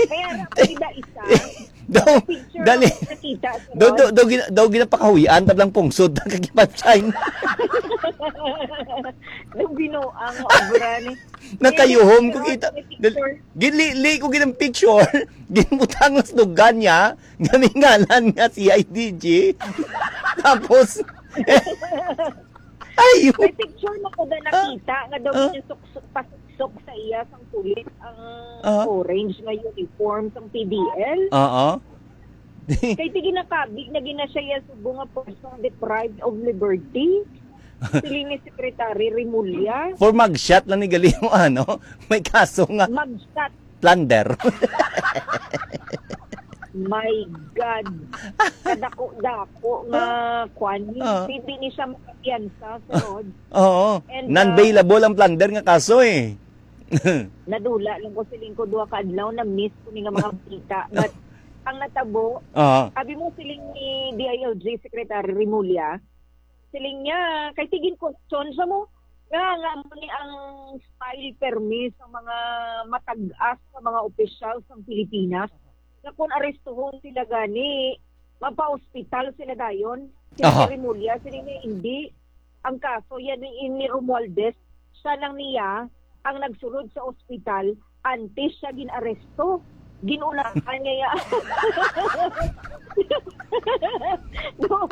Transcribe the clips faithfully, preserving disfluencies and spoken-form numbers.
Kaya ra ko gida isa. Daw, picture dali. Ako nakita sa daw, daw, daw, gina- daw ginapakahuyan, tablang pungsod, ang kagipag-shine. Nung binuang obra ni Nakayuhom ko kita. May picture. Dal- ginlili ko ginang picture. Ginbutang lang sa dugan niya. Gamingalan nga si I D G. Tapos, ay, May picture na ko na nakita nga daw Ah. ginasukso-, pasuksok sa iya sang pulis ang Ah. orange nga uniform sang P D L. Oo. Kay ti ginakabig na gina siya iya subo nga person deprived of liberty. Siling ni Secretary Remulla. For mugshot lang ni gali mo, ano? May kaso nga Mugshot. Plunder. My God. Kadako-dako nga kwan. Ah. Hindi ni siya makapiyansa, Sir Rod. Oo. And, uh, non-bailable ang plunder nga kaso eh. Nadula lang ko, siling ko, duha ka adlaw, na-miss ko ni nga mga balita. But ang natabo, Oo. Sabi mo, siling ni D I L G Secretary Remulla, siling niya, kay ti gin-question sa mo, nga, nga mo ni ang style permi sa mga matag-as sa mga opisyal sa Pilipinas, nga kung arestuhon sila gani, mapa-hospital sila dayon. Si Aha. Remulla, siling niya, hindi. Ang kaso, yan ni, ni Romualdez, siya lang niya ang nagsulod sa ospital antes siya gin-aresto. Ginunahan niya ya. do,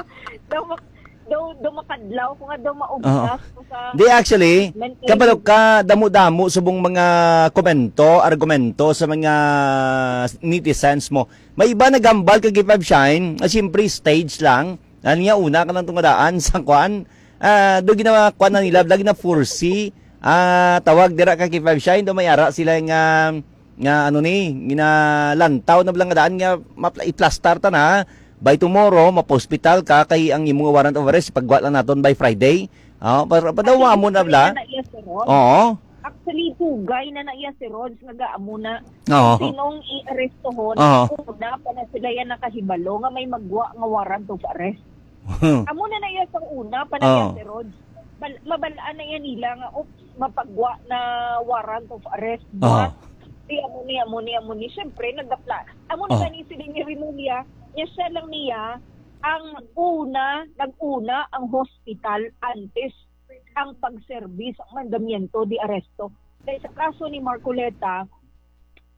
do, mak- do, do makadlaw ko nga do maubos Oo. ko sa Di, actually, treatment kabalo clinic. Ka, damo-damo subong mga komento, argumento sa mga netizens mo. May iba nagambal kag K five Shine, ah, siyempre stage lang. Ano niya, una ka lang tungadaan sa kwan. Ah, do ginawa kwan na nila, lagi na foresee. Ah, tawag dira ka K five Shine, do may ara sila nga, nga ano ni, ginalantaw na lang nga daan nga mapla- iplastar ta na. By tomorrow, mapa-hospital ka kay ang imong warrant of arrest, ipagwa lang naton by Friday. Oh, para padawa mo na bla. Kaya na iya, sir, oh. Oo. Actually, tugay na na iya si Rods nga gaamo na Oo. Sinong i-arestohon, Oo. Una pa na sila yan nakahibalo nga may magwa nga warrant of arrest. Amo na na iya sa una pa na Oo. Iya si Rods. Bal- mabalaan na yan nila nga, oops, mapagwa na warrant of arrest. Oo. But, di amo ni, amo ni, amo ni. Siyempre, nagdapla. Amo na Oo. Gani sila ni Remulla, niya siya lang niya, ang una, nag-una ang hospital antes ang pagserbi sa mandamiento de arresto. Kay sa kaso ni Marcoleta,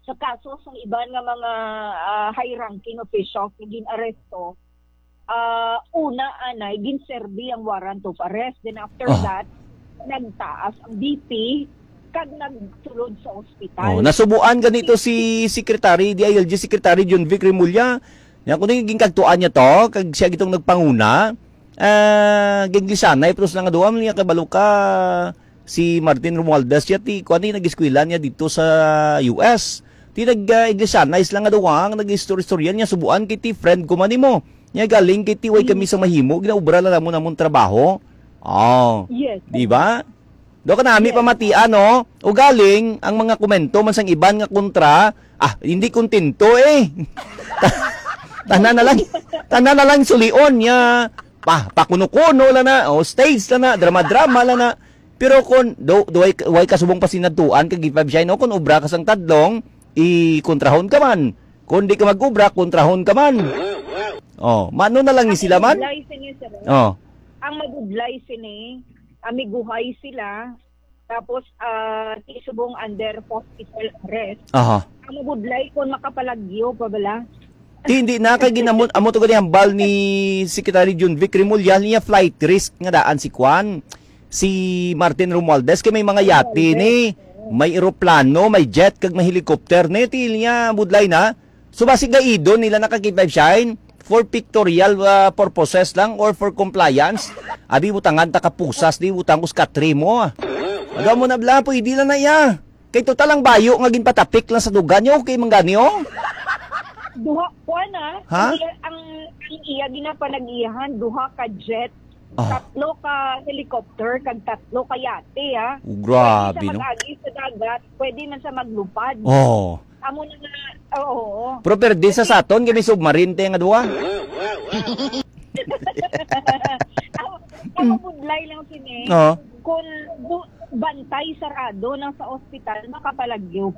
sa kaso sa iban nga mga, ah, high-ranking officials nga gin-aresto, ah, una anay ginserbi ang warrant of arrest. Then after Ah. that, nagtaas ang B P kag nagsulod sa ospital. Oh, nasubuan ganito si Secretary, D I L G Secretary John Vic Remulla. Nya kuno yung ginkagtuan niya to, kag siya gitong nagpanguna. Ah, ginglisyanay, pero sa nga duwa, niya kabalo ka, si Martin Romualdez, siya ti, kuwan ni, nag-eskwela niya dito sa U S. Ti nag, ah, iglisyanay sila nga duwa, ang nag-istorya-istorya niya, subuan kay ti friend ko man nimo. Niya galing kay ti, way kami Mm. sa mahimo, ginaubra lang namon among trabaho. Oh. Yes. Di ba? Do ka nami Yes. pamatian, no? Ugaling, ang mga komento man sang iban nga kontra, ah, hindi kontento eh. Ta- tanan na lang, tanan na lang sulion niya. Pa, pakuno-kuno lang na, o stage lang na, drama-drama lang na. Pero kung do, do way, way kasubong pasinadtuan kag ipabsya, no, kung obra ka sang tadlong, ikontrahon ka man. Kung di ka mag-obra, kontrahon ka man. Oh, mano na lang ni sila man? Ang mabudlay sini, sir. Oh. Ang mabudlay sini, amiguhay sila. Tapos, ah, ti subong under hospital arrest. Aha. Ang mabudlay kung makapalagyo pa bala. Ti, hindi na kay ginamon amo to gani hambal ni Secretary Jun Vic Remulla niya flight risk nga daan si Kwan, si Martin Romualdez kay may mga yate ni, may eroplano, may jet kag may helicopter ni ti niya budlay na. So, basig gaidon nila na ka K five Shine for pictorial, ah, purposes lang or for compliance. Abi, butangan ta ka pusas, di butang us katri mo, ah. Aga mo na bla, pwede lang na iya. Kay total ang bayo nga ginpatapik lang sa dugan niyo, okay man gani, oh. Duha, kuwan, ah. Ha? Ang iya, ang, ang iya ginapanag-iyahan, duha ka jet, Ah. tatlo ka helicopter, kag tatlo ka yate, ah. Oh, grabe, no? Pwede siya mag-agi sa dagat, pwede man siya maglupad. Oh. Amo na nga, oo. Pero pwede sa Kasi saton, kami submarine te nga duha. Ang, ang mabudlay lang sini, Oo. kung bu- bantay sarado nang sa ospital, makapalagyo pa.